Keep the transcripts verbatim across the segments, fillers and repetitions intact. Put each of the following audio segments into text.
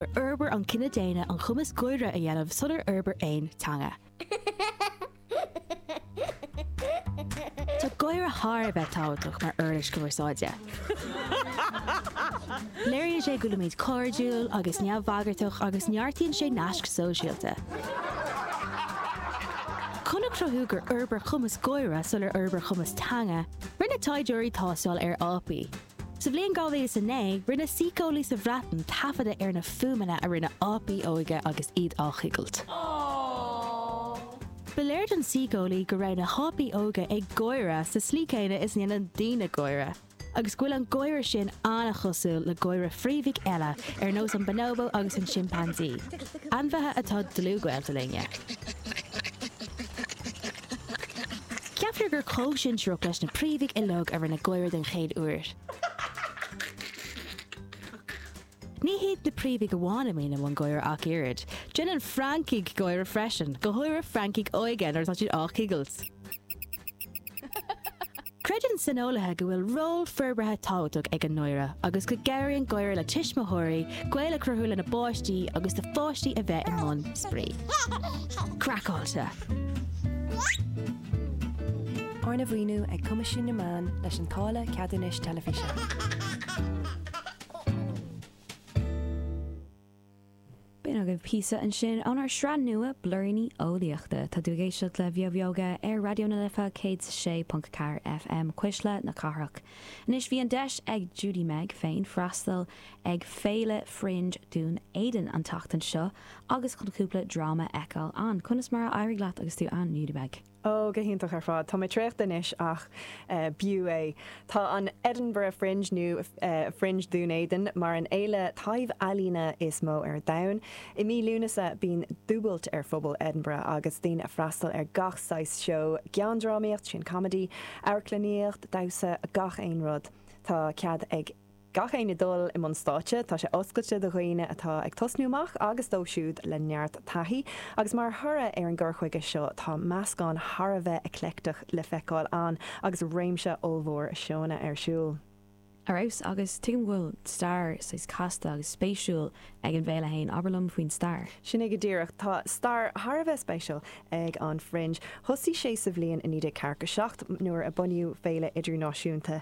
Fhorbair an cine daonna an cumas gáire a dhéanamh sular fhorbair aon teanga. Tá gáire thar a bheith tábhachtach mar uirlis cumarsáide. Léiríonn sé go bhfuilimid cairdiúil agus neamhbhagartach agus neartaíonn sé naisc sóisialta. Chun a chruthú gur fhorbair cumas gáire sular fhorbair cumas teanga, rinne taighdeoirí tástáil ar ápaí. Sa bhliain dhá mhíle is a naoi, rinne síceolaí sa Bhreatain taifeadadh ar na fuaimeanna a rinne ápaí óga agus iad á gcigilt. Ba léir don síceolaí go raibh na hápaí óga ag gáire sa slí céanna is a ndéanann daoine gáire, agus go bhfuil an gáire sin an-chosúil le gáire phríomhaigh eile ar nós an bonobo agus an chimpeansaí, ainmhithe atá dlúthghaolta linne. Ceaptar gur comhshinsearach leis na príomhaigh uilig a rinne gáire den chéad uair. Ní hiad na príomhaigh amháin a mbíonn i mbun gáire ach oiread. Déanann francaigh gáire freisin, go háirithe francaigh óga nuair atá siad á gcigilt. Creideann saineolaithe go bhfuil ról forbartha tábhachtach ag an ngáire agus go gcabhraíonn gáire le tuismitheoirí gaol a chruthú lena bpáistí agus do pháistí a bheith i mbun spraoi. Craiceáilte! Arna mhaoiniú ag Coimisiún na Meán leis an táille ceadúnais teilifíse. B'in agaibh píosa ansin ónár sraith nua Blúiríní Eolaíochta. Tá tú ag éisteacht le Beo Bheoga ar Raidió na Life céad is a sé ponc a ceathair FM, Cuisle na Cathrach. Anois bhí an deis ag Judy Meg féin freastal ag Féile Fringe Dún Éideann an tseachtain seo agus chun cúpla dráma a fheiceáil ann. Conas mar a d'éirigh leat agus tú ann, Judy Meg? Ó, go hiontach ar fad. Tá mé traochta anois ach b'fhiú é. Tá an Edinburgh Fringe nó Fringe Dún Éideann mar an fhéile taibh-ealaíne is mó ar domhan. I mí Lúnasa bíonn dúbailt ar phobal Edinburgh agus daoine ag freastal ar gach saghas seó, geandrámaíocht, sin comedy, amharclannaíocht, damhsa, gach aon rud. Tá cead ag. Gach éinne dul i mbun stáitse, tá sé oscailte do dhaoine atá ag tosnú amach agus dóibh siúd le neart taithí, agus mar thoradh ar an gcur chuige seo tá meascán thar a bheith eclectic le feiceáil ann agus réimse ollmhór seónna ar siúl. Ar fheabhas, agus tuigim go bhfuil stair saghas casta agus spéisiúil ag an bhféile fhéin, abair liom faoin stair. Sin é go díreach. Tá stair thar a bheith spéisiúil ag an Fringe. Thosaigh sé sa bhliain naoi déag ceathracha seacht nuair a bunaíodh Féile Idirnáisiúnta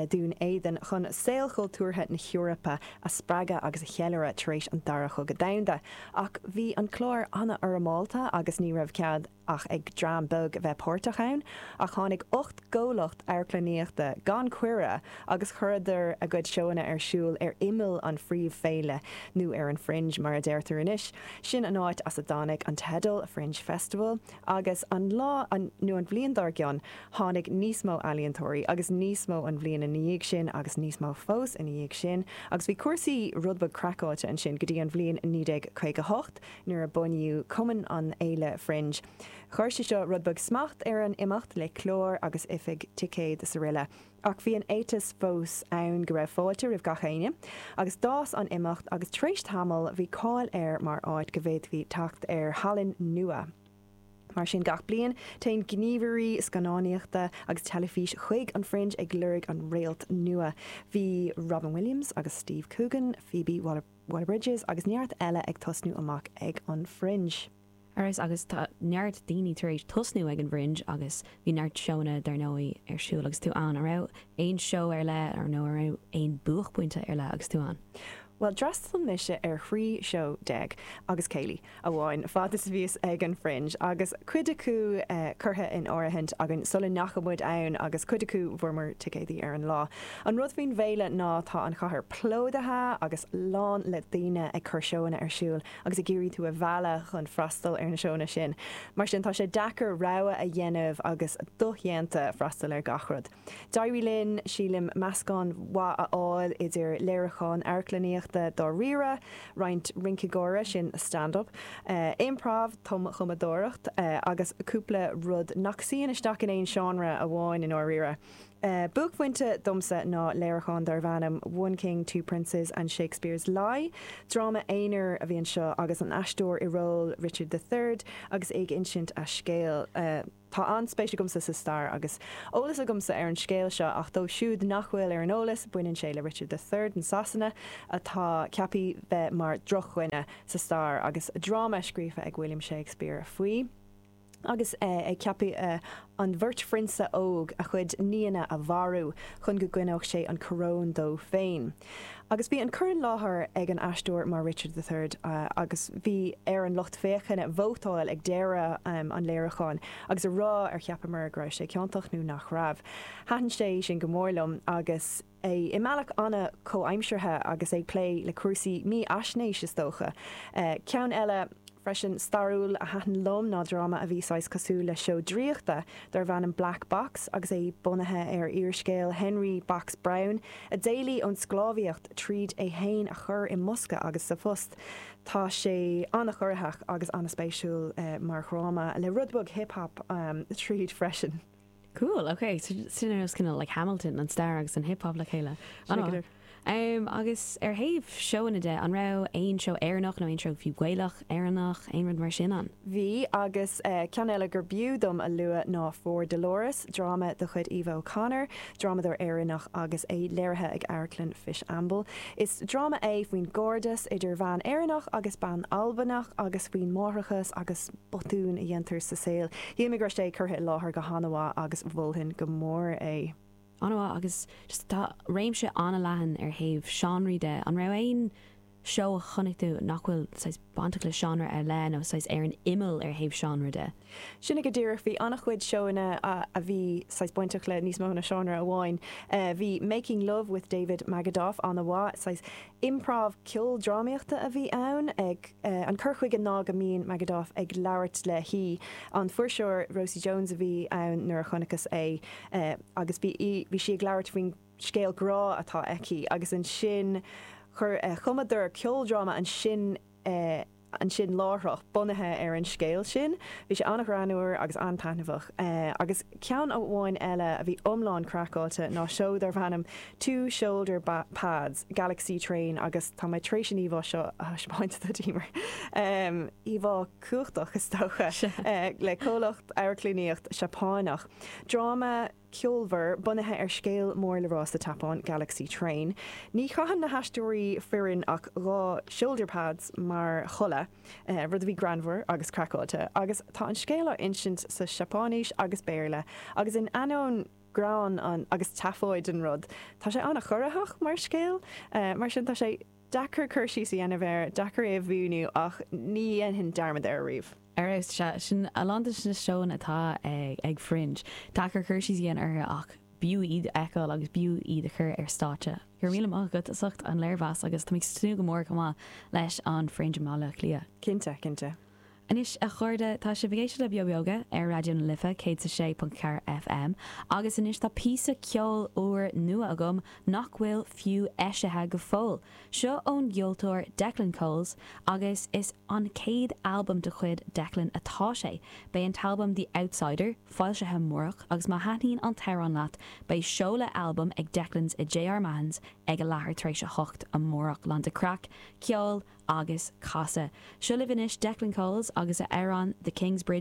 Dhún Éideann chun saol chultúrtha na hEorpa a spreagadh agus a cheiliúradh tar éis an Dara Chogadh Domhanda. Ach bhí an clár an-fhoirmeálta agus ní raibh cead ach ag dream beag a bheith páirteach ann. Ach tháinig ocht gcomhlacht amharclannaíochta gan cuireadh agus chuireadar a gcuid seóanna ar siúl ar imeall an phríomhfhéile, nó ar an Fringe mar a deirtear anois. Sin an áit as a dtáinig an teideal, Fringe Festival, agus an lá, nó an bhliain dár gcionn, tháinig níos mó ealaíontóirí, agus níos mó an bhliain ina dhiaidh sin, agus níos mó fós ina dhiaidh sin, agus bhí cúrsaí rud beag craiceáilte ansin go dtí an bhliain naoi déag caoga a hocht, nuair a bunaíodh Cumann an Fhéile Fringe. Chuir sé seo rud beag smacht ar an imeacht le clár agus oifig ticéad is aroile. Ach bhí an éiteas fós ann go raibh fáilte roimh gach éinne, agus d'fhás an imeacht agus tar éis tamaill bhí cáil air mar áit go bhféadfaí teacht ar thallann nua. Mar sin gach bliain téann gníomhairí scannánaíochta agus teilifís chuig an Fringe ag lorg an réalt nua. Bhí Robin Williams agus Steve Coogan, Phoebe Waller-Bridges agus neart eile ag tosnú amach ag an Fringe. Ar fheabhas, agus tá neart daoine tar éis tosnú ag an bhFringe agus bhí neart seónna dar ndóigh ar siúl agus tú ann. An raibh aon seó ar leith nó an raibh aon buaicphointe ar leith agus tú ann? Bhuel, d'fhreastail mise ar thrí seó déag agus céilí amháin fad is a bhíos ag an Fringe agus cuid acu curtha in áirithint againn sula ndeachaigh muid ann agus cuid acu bhfuaireamar ticéadaí ar an lá. An rud faoin bhféile ná tá an chathair plódaithe agus lán le daoine ag cur seóanna ar siúl agus ag iarraidh tú a mhealladh chun freastal ar na seónna sin. Mar sin, tá sé deacair rogha a dhéanamh agus dodhéanta freastal ar gach rud. D'éirigh linn, sílim, meascán mhaith a fháil idir léiriúcháin amharclannaíochta dáiríre, roinnt rince gáire, sin stand-up, improv, tumchumadóireacht, agus cúpla rud nach suíonn isteach in aon seánra amháin i ndáiríre. Buaicphointe domsa ná léiriúchán darbh ainm One King, Two Princes and Shakespeare's Lie. Dráma aonair a bhí anseo agus an aisteoir i ról Richard the Third agus ag insint a scéal. Uh, Tá an-spéis agamsa sa stair agus eolas agamsa ar an scéal seo ach dóibh siúd nach bhfuil ar an eolas baineann sé le Richard the Third in Sasana atá ceaptha bheith mar drochdhuine sa stair agus dráma scríofa ag William Shakespeare faoi. Agus eh, ag ceapadh eh, an bheirt phrionsa óg a chuid nianna a mharú chun go gcoinneodh sé an coróin dó féin. Agus bhí an cur i láthair ag an aisteoir mar Richard the Third uh, agus bhí ar an lucht féachana vótáil ag deireadh um, an léiriúcháin agus a rá ar cheapamar go raibh sé ciontach nó nach raibh. Thaitin sé sin go mór liom agus é i mbealach an-chomhaimseartha agus ag plé le cúrsaí mífhaisnéis is dócha. Uh, ceann eile freisin stairiúil a thaitin liom ná dráma a bhí saghas cosúil le seó draíochta darbh ainm Black Box agus é bunaithe ar úrscéal Henry Box Brown a d'éalaigh ón sclábhaíocht tríd é féin a chur i mbosca agus sa phost. Tá sé an-chorraitheach agus an-spéisiúil uh, mar dhráma le rud beag hip-hop um, tríd freisin. Cool, okay, so sin ar kind of like Hamilton an stair agus an hip-hop le chéile. An Um, agus ar thaobh seónna de an raibh aon seó Éireannach nó aon seó fiú Gaelach Éireannach aon rud mar sin ann. Bhí agus uh, ceann eile gur b'fhiú dom a lua ná For Dolores, dráma de chuid Eva O'Connor, drámadóir Éireannach agus é léirithe ag Amharclann Fishamble. Is dráma é faoin gcairdeas idir bhean Éireannach agus bean Albanach agus faoin máithreachas agus botúin a dhéantar sa saol. Shíl mé go raibh sé curtha i láthair go han-mhaith agus mholfainn go mór é. An-mhaith agus just tá réimse an-leathan ar thaobh seánraí de an raibh aon seó a chonaic tú nach bhfuil saghas bainteach le seánra ar leith nó saghas ar an imeall ar thaobh seánra de. Sin go díreach bhí an-chuid seónna a, a bhí saghas bainteach le níos mó ná seánra amháin. Uh, bhí Making Love with David Magidoff an-mhaith saghas improv ceoldrámaíochta a bhí ann ag uh, an cur chuige ná go mbíonn Magidoff ag labhairt le haoi an fuirseoir Rosie Jones a bhí ann nuair a chonaiceas é uh, agus bhí bhí sí ag labhairt faoin scéal grá atá aici agus ansin chuir uh, chumadar ceoldráma ansin uh, ansin láithreach bunaithe ar an scéal sin, Bhí sé an-ghreannmhar agus an-taitneamhach uh, agus ceann amháin eile a bhí iomlán craiceáilte ná seó darbh ainm Two Shoulder Pads, Galaxy Train agus tá mé tar éis an íomhá seo a thaispeáint duit Emer. Um, íomhá cumhachtach is dócha uh, le comhlacht amharclannaíocht Seapánach. Dráma ceolmhar bunaithe ar scéal mór le rá sa tSeapáin Galaxy Train. Ní chaitheann na haisteoirí fireann ach dhá shoulder pads mar chulaith, uh, rud a bhí greannmhar agus craiceáilte, agus tá an scéal á insint sa Seapáinis agus Béarla, agus in ainneoin greann an agus tafóid an rud. Tá sé an-chorraitheach mar scéal, uh, mar sin tá sé deacair cur síos a dhéanamh air, deacair é a mhíniú ach ní dhéanfainn dearmad air riamh. Ar se sin a lán de na seónna atá ag, ag Fringe. Deacair cur síos a dhéanamh orthu ach b'fhiú iad a fheiceáil agus b'fhiú iad a chur ar stáitse. Gur míle maith agat as ucht an léirmheas agus tá tnúth go mór chomh maith leis an Fringe i mBaile Átha Cliath. Cinnte, cinnte. Anois a chairde tá sibh ag éisteacht le Beo Beoga ar Raidió na Life céad a sé ponc ceathair FM, agus anois tá píosa ceoil úr nua agam nach bhfuil fiú eisithe go fóill. Seo ón gceoltóir Declan Coles agus is an chéad albam de chuid Declan atá sé. Beidh an t-albam The Outsider foilsithe amárach agus má thaitníonn an t-amhrán leat beidh seoladh albam ag Declan's i J.R. Mahon's ag a leathuair tar éis a hocht amárach lán de chraic, ceol agus casadh. Seo libh anois Declan Coles agus a amhrán The Kingsbridge